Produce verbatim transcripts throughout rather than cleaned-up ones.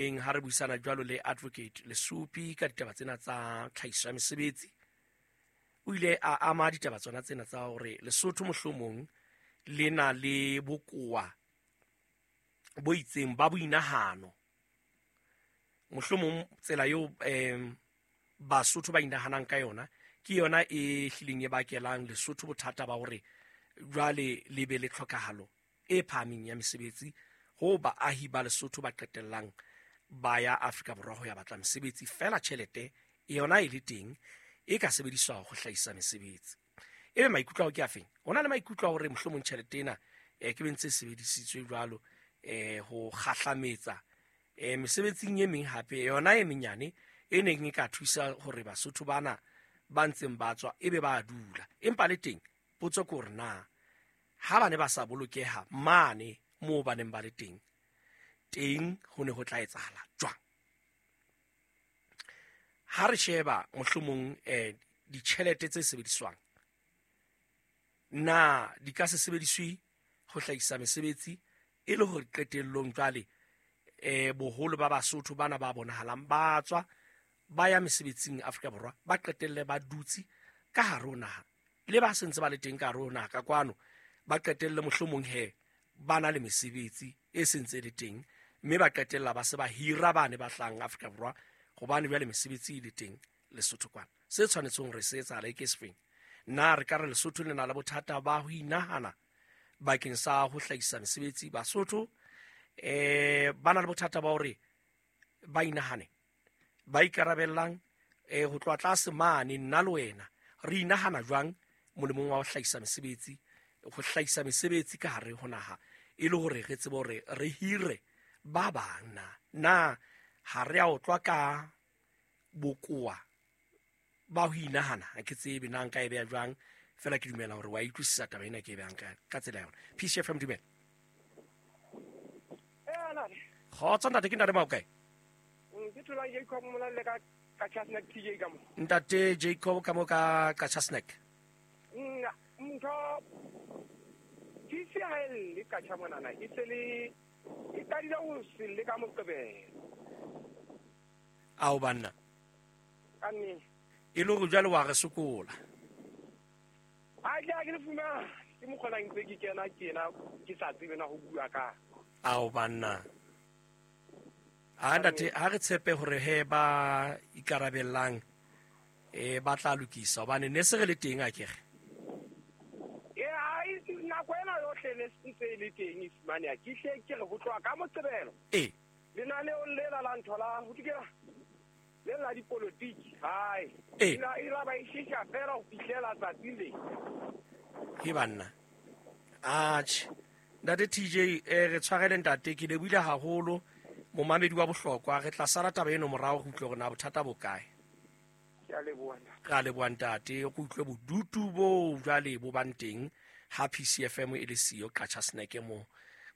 Ha re buisana jwalo le Advocate Lesupi ka ditaba tsena tsa tlhahiso ya mesebetsi, o ile a ama ditaba tsona tsena tsa hore Lesotho mohlomong le na le bokowa bo itseng ba boinahano. Mohlomong tsela eo um Basotho ba inahanang ka yona ke yona e hlileng e bakelang Lesotho bothata ba hore jwale le be le tlhokahalo e phahameng ya mesebetsi, ho baahi ba Lesotho ba qetellang ba ya Afrika Borwa ho ya batla mesebetsi, fela tjhelete yona e le teng e ka sebediswa ho hlahisa mesebetsi. Ebe maikutlo ao ke afeng? Ho na le maikutlo a hore mohlomong tjhelete ena eh, ke be ntse e sebedisitswe jwalo eh, ho kgahlametsa eh, mesebetsing e meng hape yona e menyane e neng e ka thusa hore Basotho bana ba ntseng ba tswa ebe ba dula. Empa le teng potso ke hore na ha ba ne ba sa bolokeha mane moo ba neng ba le teng, teng ho ne ho tla etsahala jwang? Ha re sheba mohlomong eh, ditjhelete tse sebediswang, na di ka se sebediswe ho hlahisa mesebetsi e le hore qetellong jwale eh, boholo ba Basotho bana ba bonahalang ba tswa ba ya mesebetsing Afrika Borwa ba qetelle ba dutse ka hare ho naha, le ba sentse ba le teng ka hare ho naha ka kwano ba qetelle mohlomong he ba na le mesebetsi e sentse e le teng, mme ba qetella ba se ba hira bane ba hlahang Afrika Borwa hobane jwale mesebetsi e le teng Lesotho kwana. Se tshwanetseng hore se etsahale ke sefeng? Na re ka re Lesotho le na le bothata ba ho inahana bakeng sa ho hlahisa mesebetsi? Basotho eh ba na le bothata ba hore ba inahane, ba ikarabellang eh ho tloha tlase mane, nna le wena re inahana jwang molemong wa ho hlahisa mesebetsi, ho hlahisa mesebetsi ka hare ho naha e le hore re tsebe hore re hire ba bang? Na na ha re a otlwa ka bokowa ba ho inahana? Ha ke tsebe na nka e beha jwang, fela ke dumela hore wa utlwisisa taba ena ke e behang ka ka tsela yona. P C F M, dumela. Kgotso ntate, ke ntate Maokae? Ke thola Jacob Molalle ka Qacha Snack T J ka mo. Ntate Jacob ka mo ka Qacha Snack. Nna ntho T C ha e le Qacha monana e se le e qadile ho se le ka Moqebelo. Ao banna. Ka nnete. E le hore jwale wa re sokola. Ha ke a ke le fumana ke mokgona ntse ke kena kena ke sa tsebe na ho bua ka. Ao banna. A ntate, ha re tshepe hore he ba ikarabellang eh ba tla lokisa hobane ne se re le teng akere. Eh ai nako ena yohle ne se le teng e fumaneha ke hle ke re ho tloha ka Moqebelo. Eh. Lenaneong lela la ntho la ho dikela le la dipolotiki hai. Eh. Ila ila ba ishisha fela ho fihlela tsatsi le. He banna. Atjhe. Ntate T J eh re tshwarele ntate ke lebohile haholo. Momamedi wa bohlokwa, re tla sala taba eno morao re utlwe hore na bothata bo kae. Ke a leboha. Re a leboha ntate, re utlwe bodutu bo jwale bo bang teng ha P C F M e le siyo Qacha Snack mo.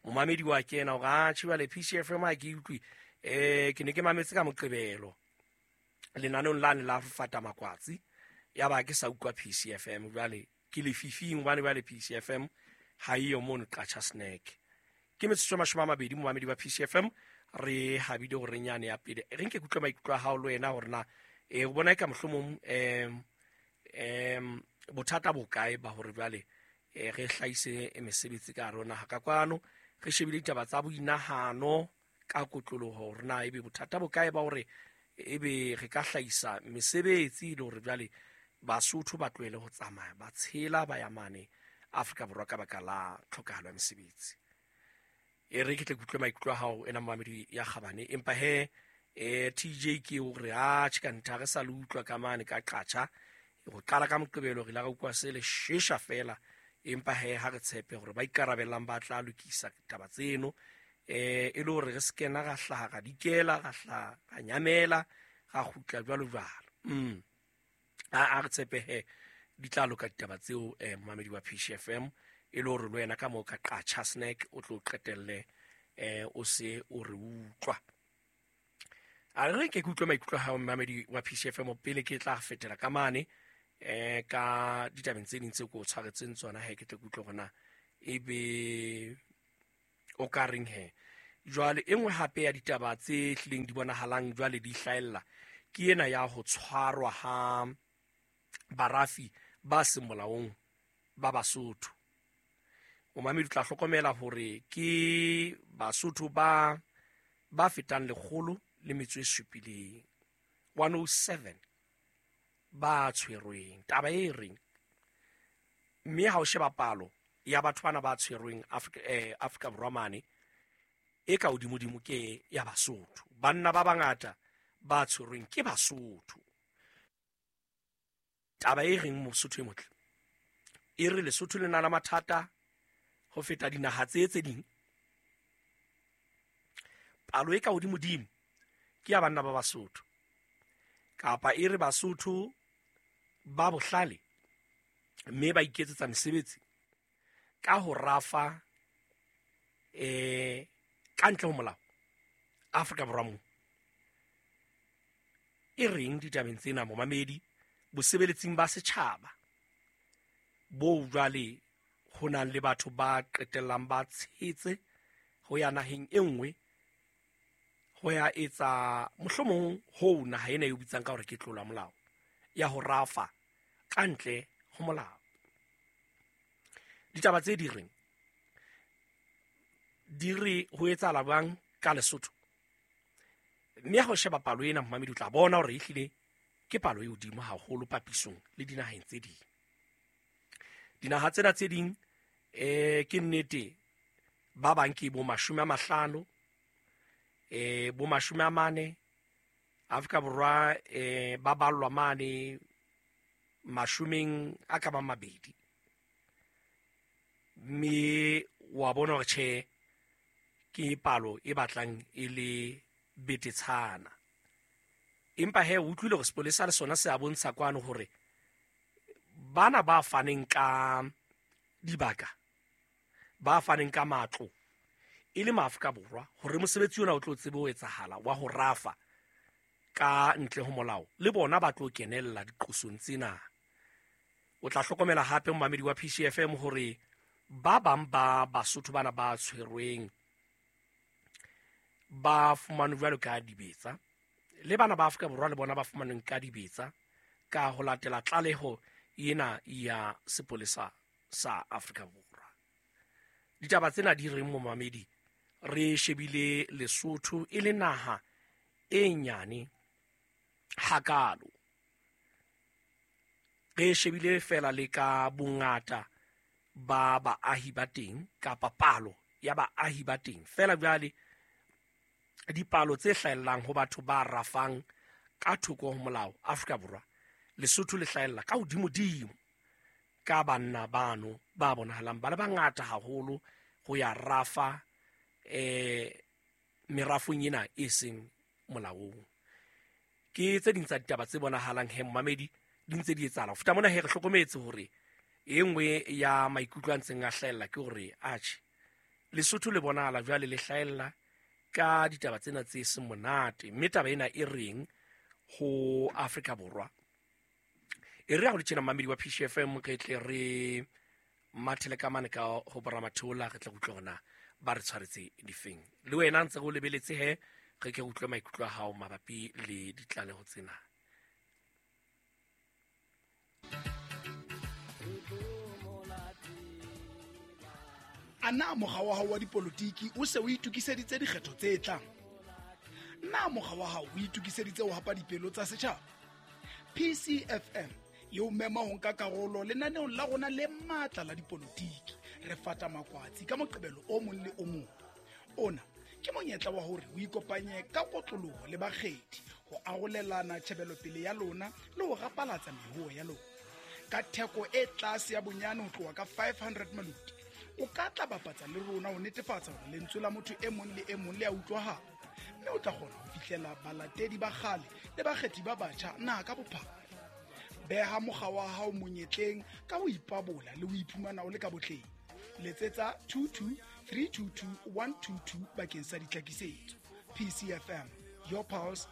Momamedi wa kena hore atjhe jwale P C F M ha ke utlwe, eh ke ne ke mametse ka Moqebelo lenaneong lane la Fata Makwatsi, ya ba ke sa utlwa P C F M jwale ke lefifing hobane jwale P C F M ha eyo mono Qacha Snack. Ke metsotso e mashome a mabedi momamedi wa P C F M re habile hore nyane ya pele re nke kutlwe maikutlo a hao le wena hore na eh o bona e ka mohlomong em em bothata bo kae ba hore jwale eh re hlahise mesebetsi ka hare ho naha ka kwano, re shebile ditaba tsa boinahano ka kotloloho hore na ebe bothata bo kae ba hore ebe re ka hlahisa mesebetsi le hore jwale Basotho ba tlohele ho tsamaya ba tshela ba ya mane Afrika Borwa ka baka la tlhokahalo ya mesebetsi. E re ke tle ke utlwe maikutlo a hao ena momamedi ya kgabane, empa he eh T J ke hore atjhe ka ntha re sa le utlwa ka mane ka Qacha ho qala ka Moqebelo re la re utlwa se le shesha fela, empa he ha re tshepe hore ba ikarabellang ba tla lokisa taba tseno eh e le hore re se kena ra hlaha ra dikela ra hlaha ra nyamela ra kgutla jwalo jwalo. Mm a a re tshepe he di tla loka ditaba tseo eh momamedi wa P C F M e le hore le wena ka moo ka Qacha Snack o tlo qetelle eh o se o re utlwa. A re ke utlwe maikutlo a hao momamedi wa P C F M pele ke tla fetela ka mane eh ka ditabeng tse ding tse ko tshwaretseng tsona he ke tle ke utlwe hore na ebe o ka reng he. Jwale e nngwe hape ya ditaba tse hlileng di bonahalang jwale di hlahella ke ena ya ho tshwarwa ha barafi ba seng molaong ba Basotho. Momamedi o tla hlokomela hore ke Basotho ba ba fetang lekgolo le metso e supileng, one oh seven ba tshwerweng. Taba e reng, mme ha o sheba palo ya batho bana ba tshwerweng Afrika, eh, Afrika Borwa mane, e ka hodimodimo ke ya Basotho. Banna ba bangata ba tshwerweng ke Basotho. Taba e reng Mosotho e motle, e re Lesotho le na le mathata ho feta dinaha tse tse ding. Palo e ka hodimodimo ke ya banna ba Basotho, kapa e re Basotho ba bohlale mme ba iketsetsa mesebetsi ka ho rafa eh ka ntle ho molao Afrika Borwa mo. E reng ditabeng tsena momamedi, bosebeletsing ba setjhaba bo jwale ho nang le batho ba qetellang ba tshetse ho ya naheng e nngwe ho ya etsa mohlomong ho naha ena e bitsang ka hore ke tlola molao ya ho rafa ka ntle ho molao. Ditaba tse di reng di re ho etsahala bang ka Lesotho, mme ha o sheba palo ena momamedi o tla bona hore ehlile ke palo e hodimo haholo papisong le dinaheng tse ding. Dinaha tsena tse ding eh ke nnete ba bang ke bo mashome a mahlano, eh bo mashome a mane. Afrika Borwa eh ba ballwa mane mashomeng a ka bang mabedi, mme wa bona hore tjhe ke palo e batlang e le betetshana. Empa he o utlwile hore sepolesa le sona se a bontsha kwano hore bana ba faneng ka dibaka, ba faneng ka matlo e le maAfrika Borwa, hore mosebetsi ona o tlo tsebe ho etsahala wa ho rafa ka ntle ho molao, le bona ba tlo kenella diqosong tsena. O tla hlokomela hape momamedi wa P C F M hore ba bang ba Basotho bana ba tshwerweng ba fumanwe jwalo ka dibetsa, le bana ba Afrika Borwa le bona ba fumanweng ka dibetsa ka ho latela tlaleho ena ya sepolesa sa Afrika Borwa. Ditaba tsena di reng momamedi, re shebile Lesotho e le naha e nyane hakalo, re shebile fela le ka bongata ba baahi ba teng kapa palo ya baahi ba teng fela. Jwale dipalo tse hlahellang ho batho ba rafang ka thoko ho molao Afrika Borwa, Lesotho le hlahella ka hodimodimo ka banna bano ba bonahalang ba le bangata haholo ho ya rafa eh merafong ena e seng molaong. Ke tse ding tsa ditaba tse bonahalang he momamedi di ntse di etsahala. Ho feta mona he re hlokometse hore e nngwe ya maikutlo a ntseng a hlahella ke hore atjhe Lesotho le bonahala jwale le hlahella ka ditaba tsena tse seng monate, mme taba ena e reng ho Afrika Borwa. E re ha ho le tjena momamedi wa P C F M, re tle re mathele ka mane ka ho boramatheola, re tle re utlwe hore na ba re tshwaretse difeng. Le wena ntse re o lebeletse he, re ke utlwe maikutlo a hao mabapi le ditlaleho tsena. A na mokga wa hao wa dipolotiki o se o itokiseditse dikgetho tse tlang? Na mokga wa hao o itokiseditse ho hapa dipelo tsa setjhaba? P C F M e o mema ho nka karolo lenaneong la rona le matla la dipolotiki. Re fata makwatsi ka Moqebelo o mong le o mong. Ona ke monyetla wa hore o ikopanye ka kotloloho le bakgethi ho arolelana tjhebelopele ya lona le ho rapalatsa mehoho ya lona. Ka theko e tlase ya bonyane ho tloha ka five hundred maluti, o ka tla bapatsa le rona ho netefatsa hore lentswe la motho e mong le e mong le a utlwahala, mme o tla kgona ho fihlela balatedi ba kgale le bakgethi ba batjha naha ka bophara. Beha mokga wa hao monyetleng ka ho ipabola le ho iphumana o le ka botleng. Letsetsa two two three two two one two two bakeng sa ditlhakisetso. P C F M, your pulse,